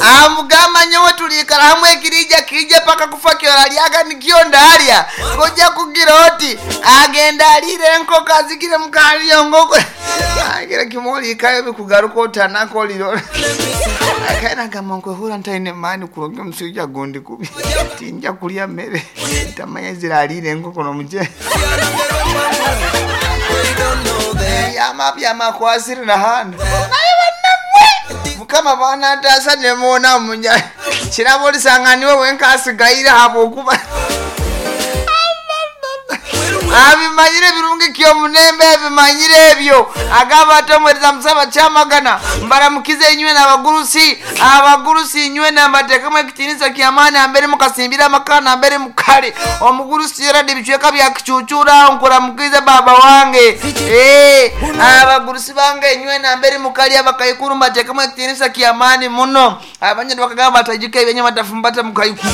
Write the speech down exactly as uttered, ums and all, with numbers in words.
Amugamba, nyowe tuliikara hamwe, ekirija kijja paka kufa, kyoralyaga nikyo ndalya. Kojja kugira oti agenda aliire enkoko, azigire mukaliyo ngoko, agira kimoliikayo bikugaruka otanaka oliro. Akaina nkwehura ntaine maani kurungi, omusujja gundi kubi, tinja kulya mmere, tamanya ziraliire enkoko nomuce byama byamakwasire nahandi. Naye bannamwe, Mukama banantaasa nemuwona munya kiraba olisanga niwe wenka asigaire, habwokuba abimanyire birungi kyomunembe ebimanyire ebyo. Agamba ati omwereza musaba kyamagana, mbaramukize inywe n'abagurusi. Abagurusi inywe nambateekemu ekitiinisa kyamaani, ambere mukasimbira amaka, ambere mukale. Omugurusi Gerard, ebicweka bya Kicucura, nkuramukize baba wange. Eh, abagurusi bange inywe nambere mukali, abakaikuru, mbateekemu ekitiinisa kyamaani muno. Abanyarwanda bakagamba batajuka ebyenyama tafumbata mukaikuru.